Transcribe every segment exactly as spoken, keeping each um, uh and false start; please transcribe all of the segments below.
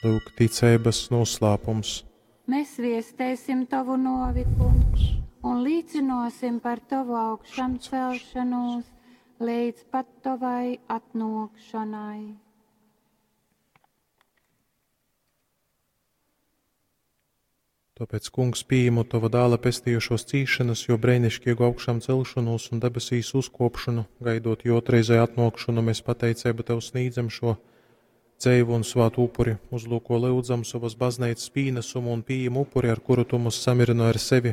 Lūk, ticeibas noslēpums. Mēs viestēsim Tavu novi, Kungs, un līcinosim par Tavu augšamcelšanos līdz pat Tavai atnākšanai. Tāpēc, Kungs, pieņemu Tava dēla pestījušos cīšanas, jo brēnišķīgu augšām celšanos un debesīs uzkopšanu, gaidot jo otrreizēju atnākšanu, mēs pateicību Tev sniedzam šo dzeivu un svātu upuri, uzlūko lūdzam savas baznīcas pīnesumu un pieņem upuri, ar kuru Tu mūs samirino ar sevi.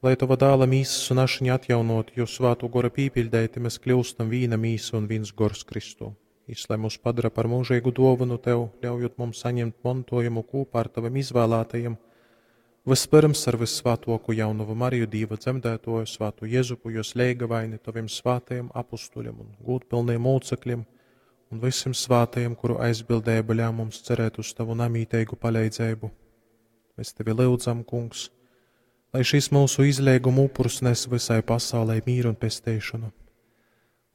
Lai Tava dēla mīsas un ašiņa atjaunot, jo svātu gora pīpiļdēti mēs kļūstam vīna mīsa un viens gors Kristū. Jis, lai mūs padara par mūžīgu dāvanu Tev, ļaujot mums saņemt mantojumu kopā ar Taviem izvēlētajiem, vispirms ar vissvētāko jaunavu Mariju, Dīva dzemdētoju, svātu Jezupu, jos leigavaini, Taviem svātajiem apustuļiem un gūtpilniem mūcekļiem un visiem svātajiem, kuru aizbildība ļauj mums cerēt uz Tavu namītīgu palīdzību. Mēs Tevi lūdzam, Kungs, lai šis mūsu izlieguma upurs nes visai pasaulē mīru un pestīšanu.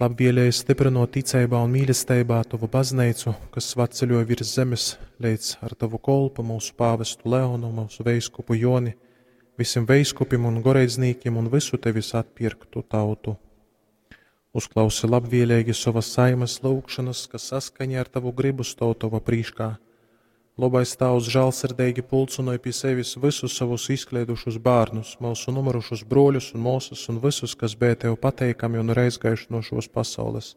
Labvēlīgi stiprinot ticībā un mīlestībā Tavu baznīcu, kas svatceļoja virs zemes, līdz ar Tavu kolpu, mūsu pāvestu Leonu, mūsu veiskupu Joni, visiem veiskupim un goreidznīkiem un visu Tevis atpirktu tautu. Uzklausi labvēlīgi savas saimas lūgšanas, kas saskaņā ar Tavu gribu stāv Tava prīškā. Labais Tavs žēlsirdīgi pulcinoja pie sevis visus savus izkliedušus bērnus, mūsu numirušus broļus un māsas un visus, kas bija Tev pateikami un reizgājuši no šos pasaules.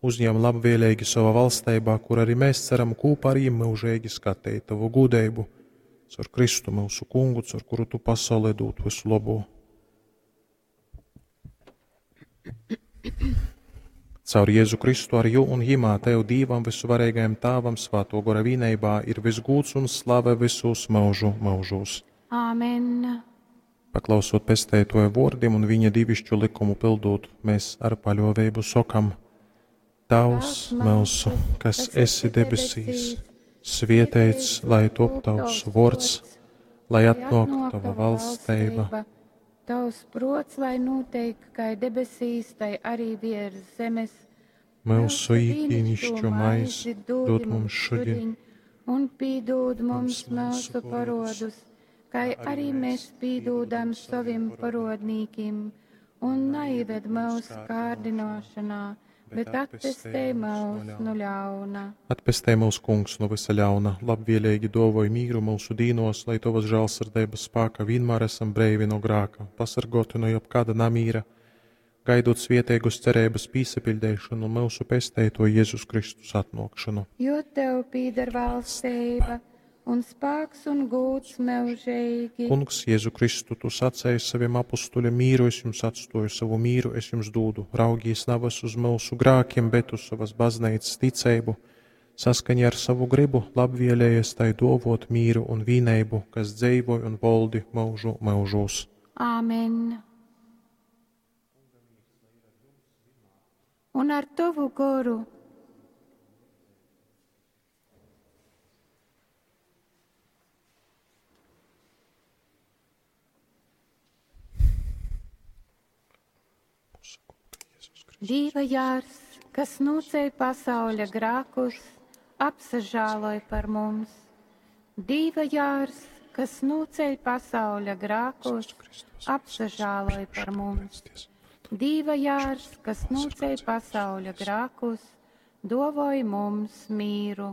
Uzņem labvēlīgi savā valstībā, kur arī mēs ceram kopā ar viņiem mūžīgi skatīt Tavu gudrību, caur Kristu mūsu kungu, caur kuru Tu pasaulē dod visu labo. Caur Jēzu Kristu ar jū un jimā Tev Dīvam visuvarīgajam Tāvam svāto gora vīneibā ir visgūts un slave visus mūžu mūžos. Āmen. Paklausot pestētoja vārdiem un viņa divišķu likumu pildot, mēs ar paļāvību sokam: Tavs mūsu, kas esi debesīs, svietēts, lai top tavs vārds, lai atnāk tava valstība. Tavs prots, lai notiek, kā debesīs, tai arī virs zemes. Mūsu ikdienišķo maizi dod mums šodien, un pīdūd mums mūsu parodus, kā arī mēs pīdūdam saviem parodnīkim, un neieved mūsu kārdināšanā, bet atpestē mūs no ļauna. Atpestē mūs, Kungs, no visa ļauna, labvēlīgi dovoj mīru mūsu dīnos, lai Tavas žēlsirdības spēka vienmēr esam breivi no grāka, pasargoti no jebkāda namīra, gaidot svietēgus cerības pīsapildēšanu un mūsu pestēto Jēzus Kristus atnākšanu. Jo Tev pīder valstība un spēks un gūts mūžīgi. Kungs, Jēzu Kristu, Tu sacēji saviem apustuļiem mīru, es jums atstoju savu mīru, es jums dūdu. Raugīs navas uz mūsu grākiem, bet uz savas baznīcas ticību, saskaņā ar savu gribu, labvēlējies tai dovot mīru un vīneibu, kas dzīvoj un voldi mūžu mūžos. Āmen. Un ar Tavu goru. Dīva jārs, kas nūcej pasauļa grākus, apsažāloj par mums. Dīva jārs, kas nūcej pasauļa grākus, apsažāloj par mums. Dīva jārs, kas nūcej pasauļa grākus, dovoj mums mīru.